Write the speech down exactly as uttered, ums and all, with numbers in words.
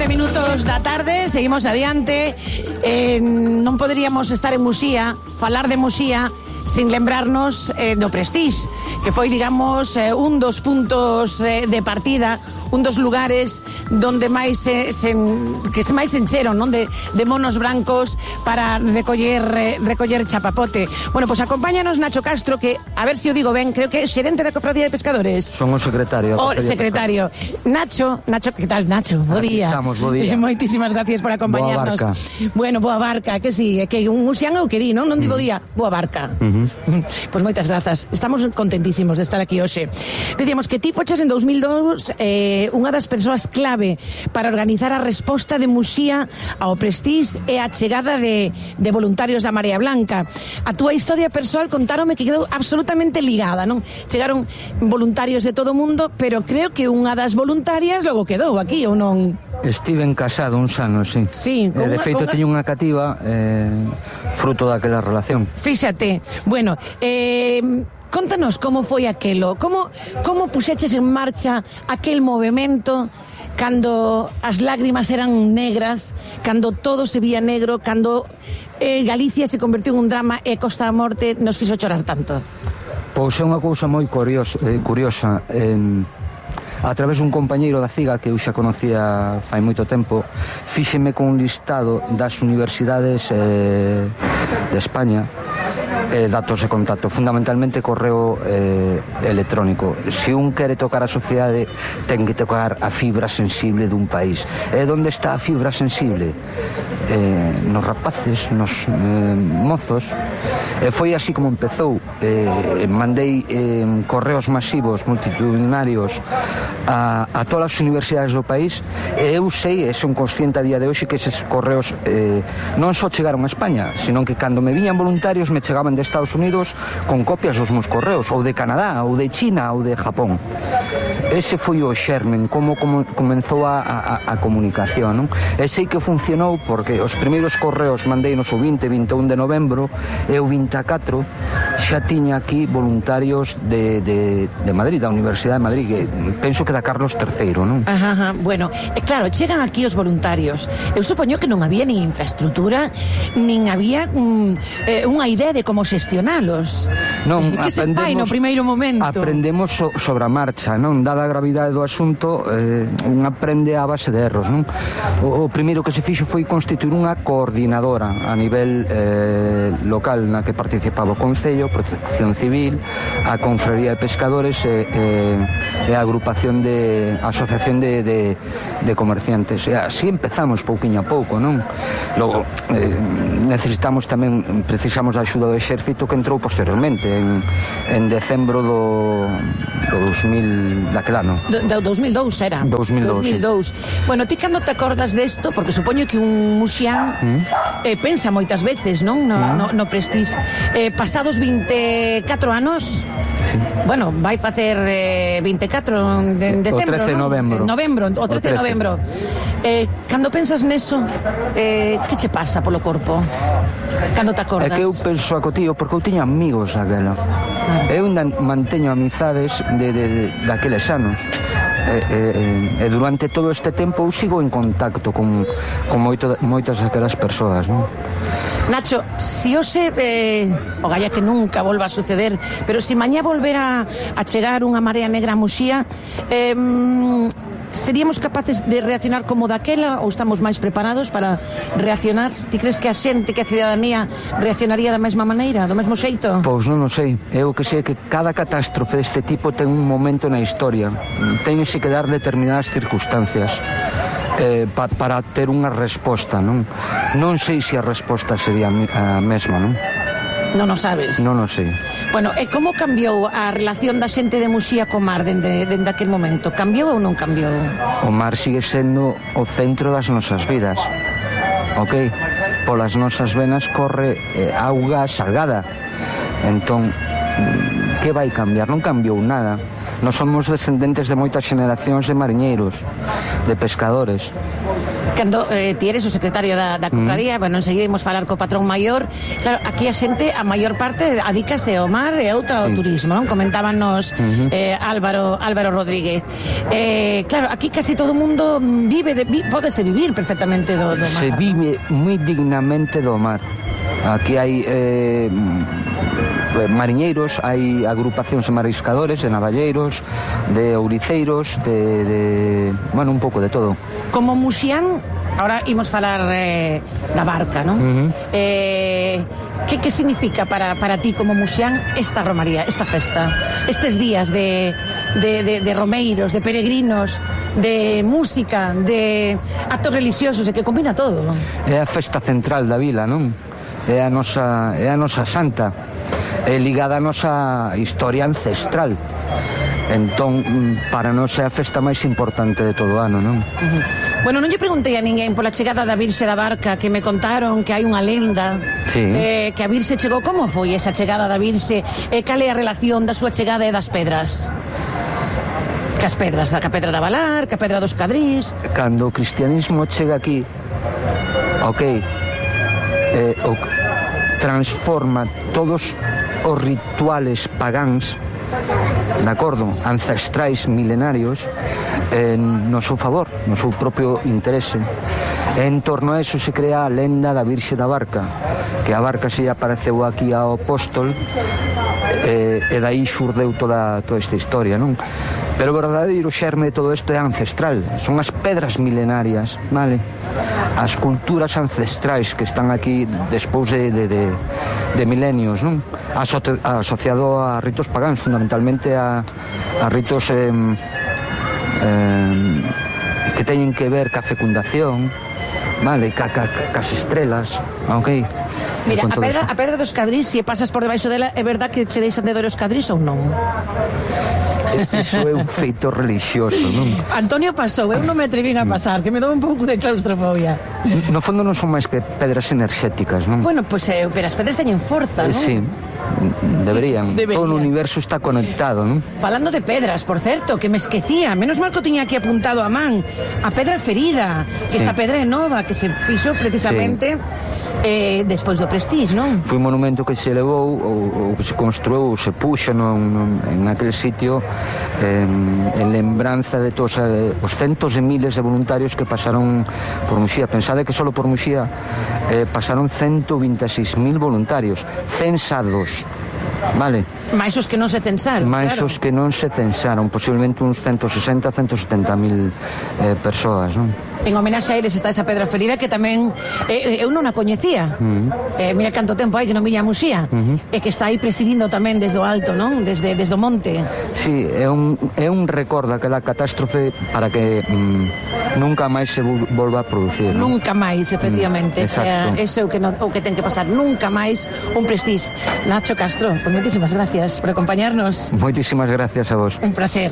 sete minutos da tarde, seguimos adiante. eh, Non poderíamos estar en Muxía, falar de Muxía, sin lembrarnos eh, do Prestige, que foi, digamos, eh, un dos puntos eh, de partida, un dos lugares donde máis eh, se, que se máis encheron, non, de, de monos brancos para recoller eh, recoller chapapote. Bueno, pois pues acompáñanos Nacho Castro, que, a ver se o digo ben, creo que é xerente da Cofradía de Pescadores. Son o secretario. O secretario. Nacho, Nacho, que tal, Nacho? Bo día. Estamos, bo día. Moitísimas gracias por acompañarnos. Boa barca. Bueno, boa barca, que si, sí, que un muxián é o que di, non? Non digo día, boa barca. Uh-huh. Pois pues moitas grazas. Estamos contentísimos de estar aquí hoxe. Dicíamos que ti foches en dos mil dos eh, unha das persoas clave para organizar a resposta de Muxía ao Prestige e a chegada de, de voluntarios da Marea Blanca. A túa historia persoal contáronme que quedou absolutamente ligada, non? Chegaron voluntarios de todo o mundo, pero creo que unha das voluntarias logo quedou aquí, ou non? Estiven casado uns anos, sí. Sí, eh, de feito, teño unha cativa eh, fruto daquela relación. Fíxate, bueno, eh... contanos como foi aquelo, como, como puxeches en marcha aquel movimento cando as lágrimas eran negras, cando todo se vía negro, cando eh, Galicia se convertiu en un drama e Costa da Morte nos fixo chorar tanto. Pois é unha cousa moi curiosa, eh, curiosa. Eh, a través dun compañeiro da CIGA que eu xa conocía fai moito tempo, fíxeme con un listado das universidades eh, de España, eh, datos de contacto, fundamentalmente correo eh, electrónico. Se un quere tocar a sociedade, ten que tocar a fibra sensible dun país. E onde está a fibra sensible? Eh, nos rapaces, nos eh, mozos. E foi así como empezou. Eh, mandei eh, correos masivos, multitudinarios a, a todas as universidades do país, e eu sei, e son consciente a día de hoxe, que eses correos eh, non só chegaron a España, sino que cando me viñan voluntarios me chegaban de Estados Unidos con copias dos meus correos, ou de Canadá, ou de China, ou de Japón. Ese foi o xermen, como, como comenzou a, a, a comunicación, non? E sei que funcionou porque os primeiros correos mandeinos o vinte, vinte e un de novembro, e o vinte e catro xa tiña aquí voluntarios de, de, de Madrid, da Universidade de Madrid, que penso que da Carlos terceiro, non? Ajá, ajá. Bueno, e claro, chegan aquí os voluntarios. Eu supoño que non había nin infraestructura, nin había mm, eh, unha idea de como xestionalos. Non, que se fai no primeiro momento? Aprendemos so, sobre a marcha, non? Dada a gravidade do asunto, eh, un aprende a base de erros, non? O, o primeiro que se fixo foi constituir unha coordinadora a nivel eh, local, na que participaba o Concello, Protección Civil, a Confraría de Pescadores e, e, e a agrupación de Asociación de, de, de Comerciantes. E así empezamos pouquiño a pouco, non? Logo, eh, necesitamos tamén, precisamos a axuda do Exército, que entrou posteriormente en, en decembro do, do dos mil, daquel ano. Do, do dos mil dous era. dos mil dous, dos mil dous. Sí. Bueno, ti cando te acordas desto, porque supoño que un muxián mm. eh, pensa moitas veces, non? No, mm. no, no Prestige. Eh, pasados vinte e catro anos, sí. Bueno, vai facer eh, vinte e catro de, de decembro, o trece de novembro. ¿no? Novembro, o trece de novembro. Eh, cando pensas neso, eh, que che pasa polo corpo? Cando te acordas? É que eu penso a cotío, porque eu tiño amigos aquela. Ah. Eu ainda manteño amizades de, de, de, daqueles anos. E, e, e durante todo este tempo eu sigo en contacto con, con moito, moitas daquelas persoas, non? Nacho, si hoxe eh, o galla que nunca volva a suceder, pero si mañá volvera a chegar unha marea negra a Muxía, eh, seríamos capaces de reaccionar como daquela, ou estamos máis preparados para reaccionar? Ti crees que a xente, que a ciudadanía reaccionaría da mesma maneira, do mesmo xeito? Pois non o sei. Eu que sei que cada catástrofe deste tipo ten un momento na historia. Tense que dar determinadas circunstancias eh, pa, para ter unha resposta, non? Non sei se a resposta sería a mesma, non? Non o sabes? Non o sei. Bueno, e como cambiou a relación da xente de Muxía co mar dende, dende aquel momento? Cambiou ou non cambiou? O mar sigue sendo o centro das nosas vidas, ok? Polas nosas venas corre eh, auga salgada. Entón, que vai cambiar? Non cambiou nada. Nós somos descendentes de moitas xeneracións de mariñeiros, de pescadores. Cando eh, ti eres o secretario da, da cofradía, mm. bueno, enseguida imos falar co patrón maior. Claro, aquí a xente, a maior parte, adícase ao mar e outra ao sí. turismo, non? Comentábanos uh-huh. eh, Álvaro, Álvaro Rodríguez. Eh, claro, aquí casi todo o mundo vive, de, vi, pódese vivir perfectamente do, do mar. Se vive moi dignamente do mar. Aquí hai eh, mariñeiros, hai agrupacións de mariscadores, de navalleiros, de ouriceiros, de, de bueno, un pouco de todo. Como muxián, ahora imos falar eh, da barca, non? Uh-huh. Eh, que, que significa para, para ti como muxián esta romaría, esta festa? Estes días de, de, de, de romeiros, de peregrinos, de música, de actos religiosos, e que combina todo. É a festa central da vila, non? É a nosa, é a nosa santa, é ligada a nosa historia ancestral. Entón, para nós é a festa máis importante de todo o ano, non? Uh-huh. Bueno, non lle preguntei a ninguén pola chegada da Virxe da Barca, que me contaron que hai unha lenda, sí. eh, que a Virxe chegou. Como foi esa chegada da Virxe? E cal é a relación da súa chegada e das pedras? Cas pedras, da Pedra da Valar, ca Pedra dos Cadrís. Cando o cristianismo chega aquí, ok, eh, o, transforma todos os rituales pagáns, de acordo, ancestrais milenarios, eh, no seu favor, no seu propio interese. E en torno a eso se crea a lenda da Virxe da Barca, que a barca se apareceu aquí ao apóstol, e, e dai xurdeu toda, toda esta historia, non? Pero o verdadeiro xerme de todo isto é ancestral, son as pedras milenarias, vale? As culturas ancestrais que están aquí despois de, de, de, de milenios, non? Aso, asociado a ritos pagáns, fundamentalmente a, a ritos eh, eh, que teñen que ver ca fecundación, vale? Ca, ca, cas estrelas, ok? Mira, a pedra, a pedra dos Cadrís, se pasas por debaixo dela, é verdad que che deixan de ver os Cadrís ou non? Eso é un feito religioso, non? Antonio pasou, eu non me atrevín a pasar, que me dou un pouco de claustrofobia. No fondo non son máis que pedras enerxéticas, non? Bueno, pois, pues, eh, pero as pedras teñen forza, non? Sí, deberían. Deberían. Todo o universo está conectado, non? Falando de pedras, por certo, que me esquecía, menos mal que o tiña aquí apuntado a man, a pedra ferida, que sí. Esta pedra é nova, que se fixo precisamente... Sí. Eh, despois do Prestige, non? Foi un monumento que se elevou ou, ou que se construou ou se puxo non, non, en aquel sitio en, en lembranza de todos eh, os centos de miles de voluntarios que pasaron por Muxía. Pensade que solo por Muxía eh, pasaron ciento veintiséis mil voluntarios censados, vale? Mais os que non se censaron, Mais claro. os que non se censaron, posiblemente uns ciento sesenta, ciento setenta mil eh, persoas, non? En homenaxe a eles está esa pedra ferida que tamén eh, eu non a coñecía. Uh-huh. eh, mira canto tempo hai que non viña a Muxía, uh-huh. E que está aí presidindo tamén desde o alto, non? Desde, desde o monte. Sí, é un, é un recordo aquela catástrofe para que mm, nunca máis se volva a producir, non? Nunca máis, efectivamente. Mm, sea, eso é o que, no, o que ten que pasar. Nunca máis un Prestige. Nacho Castro, pues moitísimas gracias por acompañarnos. Moitísimas gracias a vos. Un placer.